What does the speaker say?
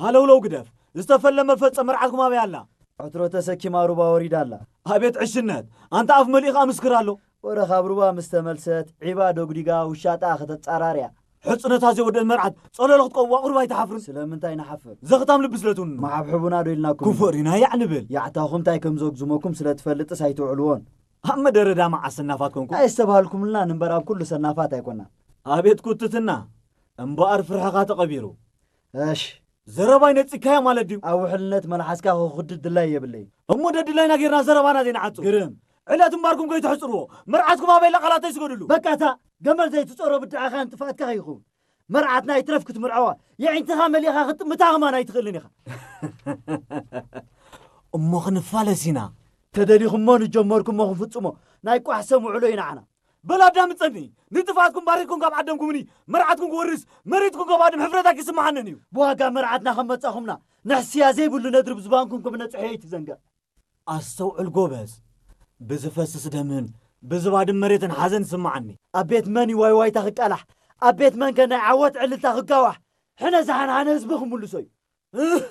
ሃለውለው ግደፍ። ዝተፈለመ ፈጸ መርዓትኩም ኣበይ ኣላ? ዕትሮ ተሰኪማ ሩባ ወሪዳ ኣላ። ኣቤት ዕሽነት! ኣንታ ኣፍ መሊእኻ ምስክር ኣሎ። ወረ ካብ ሩባ ምስ ተመልሰት፣ ዒባ ዶግዲጋ ውሻጣ ከተጻራርያ። ሕጽነታ ዘይወደት መርዓት ጸለሎ ክትቀዋ ቁሩብ ኣይትሓፍርን? ስለምንታይ ንሓፍር? ዘኽታም ልቢ ስለ ትውንኑ። መሓብሕቡና ዶ ኢልናኩም? ክፉእ ሪና ያዕ ንብል። ያዕታኹም እንታይ ከም ዘጉዝመኩም ስለ ትፈልጥስ ኣይትውዕልዎን። ኣብ መደረዳ መዓስ ሰናፋት ኮንኩም? ኣየስተብሃልኩምልና እምበር ኣብ ኩሉ ሰናፋት ኣይኮናን። ኣቤት ኩትትና! እምበኣር ፍርሕኻ ተቐቢሩ። እሽ። ዘረባይ ነጺግካዮ ማለት ድዩ? ኣብ ውሕልነት መልሓስካ ክኹድድ ድላይ የብለይ። እሞ ደድላይና ጌርና ዘረባና ዘይንዓጹ። ግርም። ዕለት እምባርኩም ከይትሕጽርዎ። መርዓትኩም ኣበይ ኣላ ቃላት ኣይስገድሉ። በቃ እታ ገመል ዘይትጾሮ ብድዓኻን ጥፍኣትካ ከይኸውን። መርዓትና ይትረፍ ክትምርዐዋ። የዒንትኻ መሊኻ ክትጥምታ ከማን ኣይትኽእልን ኢኻ። እሞ ክንፋለስ ኢና። ተደሊኹሞ ንጀመርኩሞ ክንፍጽሞ። ናይ ቋሕ ሰም ውዕሎ ኢና ዓና። በል ኣዳምጸኒ። ንጥፍኣትኩም ባሪኽኩም ካብ ዓደምኩምኒ። መርዓትኩም ክወርስ፣ መሬትኩም ከባድም ሕፍረት ኣይክስምዓንን እዩ። ብዋጋ መርዓትና ከም መጻኹምና፣ ንሕስያ ዘይብሉ ነድሪ ብዝባንኩም ከም ነጽሖ ኣይትዘንግዕ። ኣስተውዕል ጎበዝ። ብዝፈስስ ደምን ብዝባድም መሬትን ሓዘን ይስምዓኒ። ኣብ ቤት መን እዩ ዋይ ዋይታ ክቃላሕ? ኣብ ቤት መን ከ ናይ ዓወት ዕልልታ ክጋዋሕ? ሕነ ዝሓንሓነ ህዝቢ ክምልሶ እዩ። እህ!